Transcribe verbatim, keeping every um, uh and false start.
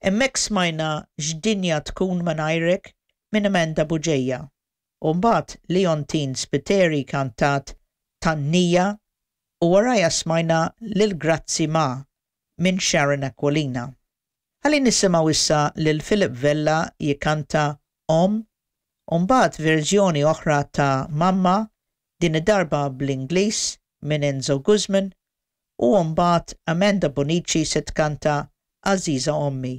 Hemmhekk smajna X'Dinja Tkun Mingħajrek minn Amanda Bugeja u mbagħad Leontine Spiteri kantat Tannija u warajha smajna lil Grazzi Ma minn Sharon Aquilina. Ħalli nisimgħu issa lil Philip Vella jikanta Omm u mbagħad verżjoni oħra ta' Mamma din id-darba bl-Ingliż minn Enzo Guzman u mbagħad Amanda Bonici se tkanta Għażiża Ommi.